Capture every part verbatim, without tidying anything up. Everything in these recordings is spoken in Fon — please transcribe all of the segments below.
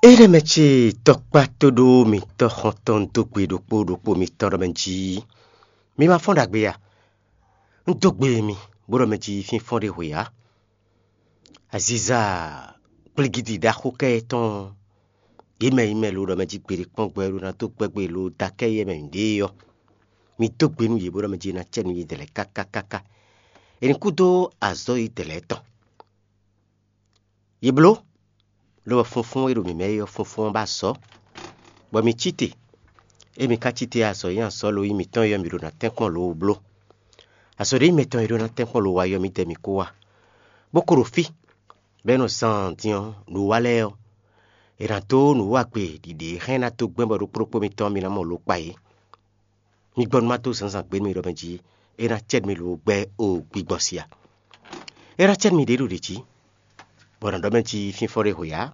Énɛ́ mɛ ce tɔkpá tóɖó mitɔ́ xɔntɔn dó gbe ɖokpó ɖokpó mitɔn ɖɔ mɛ jí: Mi ma fɔ́n ɖagbe a? Un dó gbe mi, bó ɖɔ mɛ jí fínfɔ́n ɖé hwe ǎ. Aziza kplígídi ɖaxó kɛ́ tɔn yě mɛ yi mɛ lo ɖɔ mɛ jí gbeɖé kpɔ́n gbɛ ɖó ná dó gbɛ́gbe lo da kɛ́ yɛ mɛ ɖě ɔ́, mi dó gbe nú yě bó ɖɔ mɛ jí ná cɛ nú yědɛɛ lɛ́ɛ káká káká. È nǐ kú dó azɔ̌ yědɛɛ lɛ́ɛ tɔn. Yě bló, lobɔ funfún e ɖo mǐ mɛ é ɔ́, funfún ɔ́ ba azɔ̌, bɔ mi cí te. Ée mi ka cí te azɔ̌ nyí azɔ̌ lo nyí mǐtɔn é ɔ́, mi ɖo ná tɛ́nkpɔ́n lo wú bló. Azɔ̌ ɖé nyí mɛtɔn e ɖó ná tɛ́nkpɔ́n lo wá ɔ́, mi dɛ mi kó wá, bó ko ɖo fí, bɔ é nɔ zan din ɔ́, nǔwiwa lɛ́ɛ ɔ́, è nǎ dó nǔwiwa gbe ɖiɖě e hɛn ná dó gbɛ́n bɔ ɖokpó ɖokpó mitɔn mi ná mɔ lo kpa yě. Mi gbɔ nú má dó zǎnzǎn gbe nú mi ɖɔ mɛ jí é ná cɛ mi lo gbɛ o gbigbɔ si a? É ná cɛ mi ɖě ɖo ɖě jí, bɔ nǎ ɖɔ mɛ jí fínfɔ́n ɖé hwe ǎ.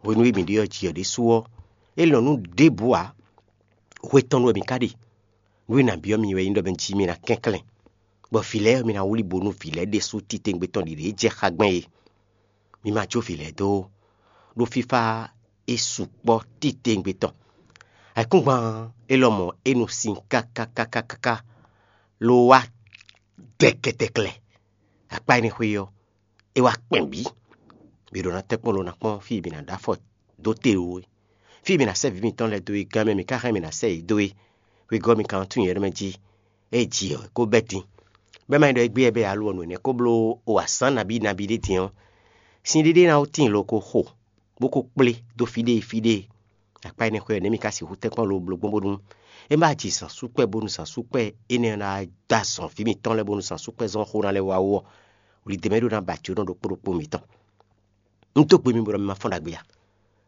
Hwenu e mǐ ɖe ɔ́ ji ɔ́ ɖésú ɔ́, é lɔn nú ɖěbǔ ǎ. Hwe tɔn wɛ mǐ ka ɖe. Nǔ e nǎ byɔ́ mi wɛ nyí ɖɔ mɛ jí mi ná kɛnklɛ́n, bɔ vǐ lɛ́ɛ ɔ́, mi ná wlí bónú vǐ lɛ́ɛ ɖésú titewungbe tɔn ɖiɖě jɛ xá gbɛn é. Mi ma jó vǐ lɛ́ɛ dó ó, ɖó fífá é sukpɔ́ titewungbe tɔn. Ayǐkúngban élɔ́ mɔ é nɔ sin kákákákáká, lo wá dɛkɛtɛklɛ. Akpá énɛ́ xwé ɔ́, é wá kpɛn bǐ. Mi ɖo ná tɛ́nkpɔ́n lo ná kpɔ́n fí e mi ná ɖó afɔ dó te ó é. Fí e mi ná sɛ́ vǐ mitɔn lɛ́ɛ dó é gán mɛ mi ka hɛn mi ná sɛ́ yě dó é. Wegɔ́ mi ka nɔ tunwun nyɛ ɖɔ mɛ jí, é ji ɔ́, é kó bɛ́ din. Bɛ́ ma nyí ɖɔ égbé wɛ bɛ́ alɔ nǔ énɛ́ kó bló o azǎn nabí nabí ɖé din ɔ́, sin ɖéɖé ná wú tíin lo ko xo, bó ko kplé dó fí ɖé fí ɖé. Akpá énɛ́ xwé ɔ́, nɛ̌ mi ka sixú tɛ́nkpɔ́n lo bló gbɔn bónú é má ji zǎn súkpɛ́ bónú zǎn súkpɛ́ énɛ́ ɔ́ ná dó azɔn vǐ mitɔn lɛ́ɛ bónú zǎn súkpɛ́ zɔn xó ná lɛ́ wá wú ɔ́, wlǐdɛ́ mɛ ɖó ná ba jǒnɔ ɖokpó ɖokpó mitɔn. Un dó gbe mi bɔ mi ma fɔ́n ɖagbe a?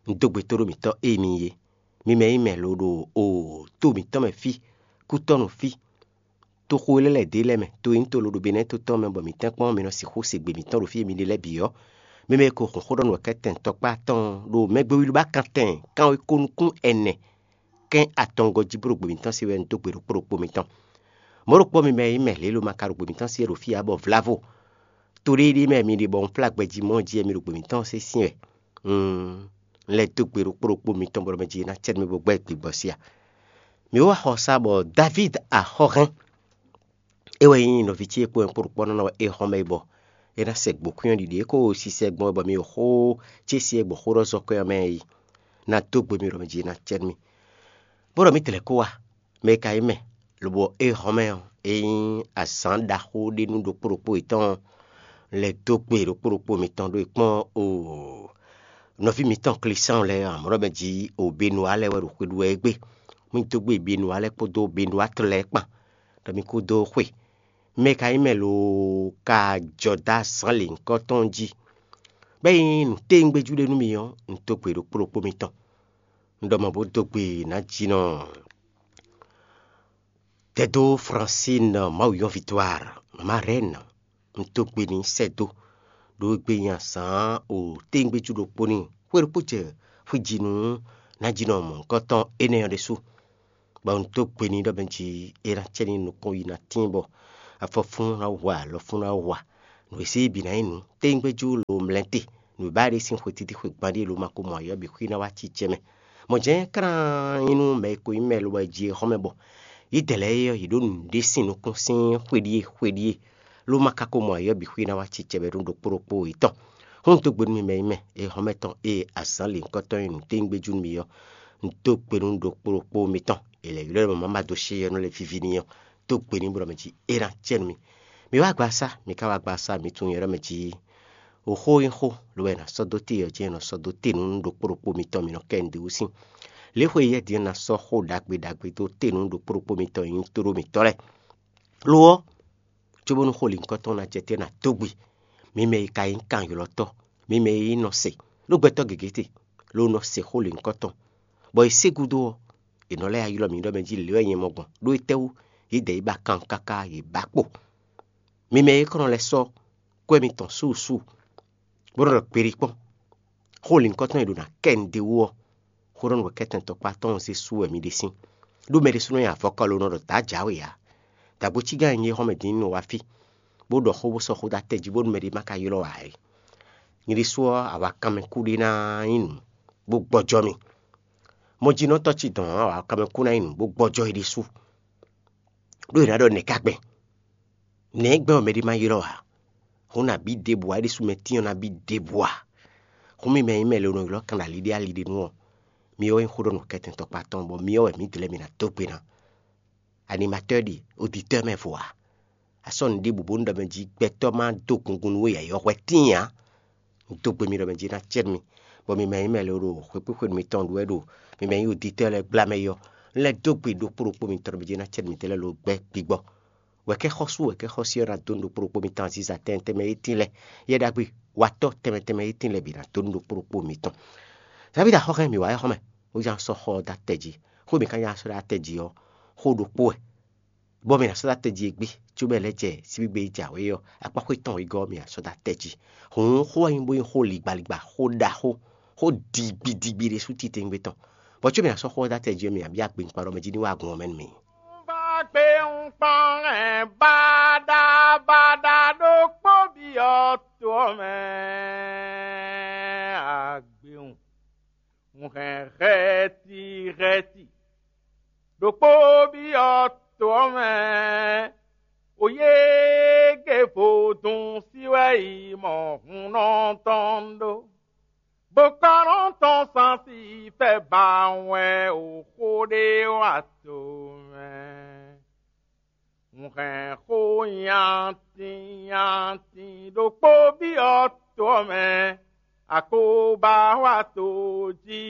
Un dó gbe tóɖó mǐtɔn e mi nyí é. Mi mɛ nyí mɛ lo ɖo o to mǐtɔn mɛ fí, kútɔ́nu fí, toxo e lɛ́ lɛ̌ dó lɛ́ɛ mɛ, to e nyí to lo ɖo Benɛ́ɛ to tɔn mɛ bɔ mǐ tɛ́nkpɔ́n mi nɔ sixú se gbe mǐtɔn ɖo fí e mi ɖe lɛ́ɛ bǐ ɔ́, mi mɛ e ko hun xó ɖɔ nǔ wɛ kɛ́tɛn tɔkpá atɔn ɖo mɛgbéwílúbá kantɛn kanwekó nukún ɛnɛ kɛ́n atɔngɔ́ jí bó ɖo gbe mǐtɔn se wɛ un dó gbe ɖokpó ɖokpó mitɔn. Mɔ̌ ɖokpó mi mɛ e nyí mɛ lě lo ma ka ɖo gbe mǐtɔn se wɛ ɖo fí ǎ bɔ vlávo to ɖéɖé mɛ mi ɖe bɔ un flá gbɛjí mɔ jí wɛ mi ɖo gbe mǐtɔn se sín wɛ. Un lɛ́ dó gbe ɖokpó ɖokpó mitɔn bɔ mɛ jí ná cɛ mi bó gbɛ́ gbigbɔ sí a? Mi wá xɔ sá bɔ Davíd axɔ́hɛn é wɛ nyí nɔví ce e kpó wɛ kpó ɖokpɔ́nɔ ɔ́ é xɔ́n mɛ bɔ é ná sɛ gbǒkwín ɔ́ ɖiɖi é ko sisɛ gbɔn wɛ bɔ mi ɖo xó ce sí e gbɔ xó ɖɔ zɔ́ kwɛ́ ɔ́ mɛ yi ná dó gbe mi ɖɔ mɛ jí ná cɛ nú mì. Bó ɖɔ mǐ tlɛ kó wá, mɛ e ka nyí mɛ, lobɔ é hɔn mɛ ɔ́, é nyí azǎn ɖaxó ɖé nú ɖokpó ɖokpó yětɔn lɛ́ dó gbe ɖokpó ɖokpó mitɔn ɖó e kpɔ́n o nɔví mǐtɔn Klísáɔn lɛ́ɛ amɔ̌ ɖɔ mɛ jí o Benuwa lɛ́ɛ wɛ ɖo xwe ɖu wɛ égbé. Mì dó gbe Benuwa lɛ́ɛ kpódó Benuwa tɔn lɛ́ɛ kpán, ɖɔ mi kú dó xwe. Mɛ e ka nyí mɛ loo ka jɔ dó azǎn lěhunkɔtɔn jí, bɔ é nyí nǔtɛ́ngbéjú ɖé nú mi ɔ́, un dó gbe ɖokpó ɖokpó mitɔn. Un ɖɔ mɔ̌ bó dó gbe nǎjínɔ Dɛdó Fransín Mawuyɔ́n Victoire, mama Rɛ́n, un dó gbe n'i sɛ́ dó, ɖó égbé nyi azǎn o téngbéjú ɖokpó n'i. Xwe ɖokpó jɛ xwiji nú nǎjínɔ mɔ̌hunkɔtɔn énɛ́ ɔ́ ɖésú, bɔ un dó gbe n'i ɖɔ mɛ jí é ná cɛ n'i nukɔn yi ná tíin bɔ afɔfún ná hu alɔfún ná hu a. Nǔ e sí bǐ ná nyí nǔ téngbéjú lo mlɛ́ te. Nǔ e ba ɖe sín xwe títí xwe gban ɖíe lo ma ko mɔ ayɔ́ bǐ xwí ná wá cí jɛ mɛ. Mɔ̌ jɛ́n klán nyí nú mɛ e ko nyí mɛ lo wɛ jí é xɔ́n mɛ bɔ yědɛɛ lɛ́ɛ é ɔ́, yě ɖó nǔɖé sín nukún sín xwe ɖíe xwe ɖíe, ló ma ka ko mɔ ayɔ́ bǐ xwí ná wá cí cɛbɛ nú ɖokpó ɖokpó yětɔn. Hún dó gbe nú mi mɛ nyí mɛ e hɔn mɛ tɔn ée azǎn lěhunkɔtɔn nyí nǔténgbéjú nú mi ɔ́, un dó gbe nú ɖokpó ɖokpó mitɔn. È lɛ̌ ylɔ́ ɛ mɔ má dó sé ɔ́ nɔ lɛ́ víví n'i ɔ́, dó gbe n'i bɔ mɛ jí é ná cɛ nú mi. Mi wá gba sá, mi ka wá gba sá, mi tunwun nyɛ ɖɔ mɛ jí o xó nyí xó, lo wɛ è nǎ sɔ́ dó te ɔ́ jɛ́n è nɔ sɔ́ dó te nú ɖokpó ɖokpó mitɔn mi nɔ kɛ nǔɖé wú sín. Lě xwe yɛ́ din ɔ́ ná sɔ́ xó ɖagbe ɖagbe dó te nú ɖokpó ɖokpó mitɔn e nyí tóɖó mǐtɔn lɛ́ɛ. Lo ɔ́, cóbónú xó lǐnkɔ́tɔn ná jɛ te ná dó gbe, mi mɛ e ka nyí kanylɔ́tɔ́, mi mɛ e nyí nɔ se, ɖó gbɛtɔ́ gěgé te, ló nɔ se xó lǐnkɔ́tɔn, bɔ è sé gúdo ɔ́, è nɔ lɛ́ ylɔ́ mi ɖɔ mɛ jí lě wɛ nyɛ mɔ gbɔn, ɖó étɛ́wú yědɛɛ yi ba kan káká yě ba kpo. Mi mɛ e kɔn nɔ lɛ́ sɔ́ kwɛ́ mitɔn súsú, bó nɔ ɖɔ kpeɖí kpɔ́n, xó lǐnkɔ́tɔn e ɖo ná kɛ nǔɖé wú ɔ́, xó ɖɔ nú wɛ kɛ́tɛn tɔkpá tɔn ɔ́ zé sú wɛ mi ɖe sín. Ɖó mɛ ɖésúnɔ nyi avɔkɔ lo nɔ ɖɔ dǎ jǎwe ǎ. Dǎgbó cígán e nyí é xɔ́mɛ din ní nɔ wá fí, bó ɖɔ xó bó sɔ́ xó dó atɛ jí bónú mɛɖé ma ka ylɔ́ ǎ é. Nyɛ ɖésú ɔ́, awakanmɛ kúɖé ná nyí nǔ. bó gbɔjɔ́ mì. Mɔjínɔtɔ́ ce dɔn ǎ wǎ, kanmɛ kú ná nyí nǔ bó gbɔjɔ́ é ɖésú, ɖó è nǎ ɖɔ nɛ̌ ká gbɛn? Nɛ̌ gbɛn ɔ́ mɛɖé má ylɔ́ ǎ? Hǔn nabí ɖěbǔ ǎ, é ɖésú mɛ tín ɔ́ nabí ɖěbǔ ǎ. Hǔn mi mɛ e nyí mɛ e lǒ nɔ ylɔ́ kan ɖo ali ɖé ali ɖé nu ɔ́, mi ɔ́ wɛ nyí xó ɖɔ nǔkɛntɛn tɔkpa tɔn, bɔ mi ɔ́ wɛ mǐdɛɛ lɛ́ɛ mi ná dó gbe ná. Animatɔ́ ɖi oditɔ́ mɛ vo ǎ. A sɔ́ nǔ ɖěbǔ bónú ɖɔ mɛ jí gbɛtɔ́ má dó gungun nú we yɛ̌yɔ́ hwɛ tíin ǎ. Un dó gbe mi ɖɔ mɛ jí ná cɛ́ nú mi, bɔ mi mɛ nyí mɛ lɛ́ɛ ɖo xwekpéxwenu mitɔn ɖu wɛ ɖo mi mɛ nyí oditɔ́ lɛ́ɛ gbla mɛ yɔ. Un lɛ́ dó gbe ɖokpó ɖokpó mitɔn ɖɔ mɛ jí ná cɛ́ nú mi tɛ́ lɛ́ɛ ɖo gbɛ́ gbigbɔ. Wɛ̌kɛ́xɔ́sú wɛ̌kɛ́xɔ́sí ɔ́ ná dó nú ɖokpó ɖokpó mitɔn azíza tɛnmɛ tɛnmɛ e tíin lɛ́ɛ, yɛ ɖagbe watɔ́ tɛnmɛ tɛnmɛ e tíin lɛ́ɛ bǐ ná dó nú ɖokpó ɖokpó mitɔn. Davida xɔ́hɛn mǐ wá é xɔ́ mɛ, bó nya sɔ́ xɔ ɔ́ dó atɛ jí. Xó mǐ ka nya sɔ́ ɖó atɛ jí ɔ́, xó ɖokpó wɛ, bɔ mǐ ná sɔ́ dó atɛ jí égbé, cóbɔ è lɛ́ jɛ síbígbe e jǎwe ɔ́, akpáxwé tɔn wegɔ́ ɔ́, mǐ ná sɔ́ dó atɛ jí. Hǔn xó wɛ nyí bó nyí xó ligbalígba, xó ɖaxó, xó digbidigbi ɖésú titewungbe tɔn. Bɔ có mǐ ná sɔ́ xó ɔ́ dó atɛ jí ɔ́, mǐ ná byɔ́ agbenkpan ɖɔ mɛ jí ní wá agun ɔ́ mɛ nú mǐ. Bá gbé un kpɔ́n hɛn baɖabaɖa ɖokpó byɔ́ to ɔ́ mɛ. Agbewun, un hɛn hɛti hɛti ɖokpó byɔ́ to ɔ́ mɛ. Oyége vodún sí wɛ yi mɔ hunnɔ tɔn ɖó, bó ka nɔ tɔn sansi fɛ ba wɛ o xó ɖé wa to mɛ. Un hɛn xó nyatin nyatin ɖokpó byɔ́ to ɔ́ mɛ, akóbá wa to jí.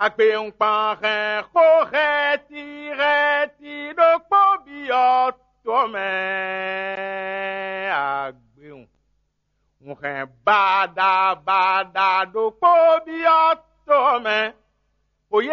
Agbewungban hɛn xó hɛti hɛti ɖokpó byɔ́ to ɔ́ mɛ. Agbewun, un hɛn baɖabaɖa ɖokpó byɔ́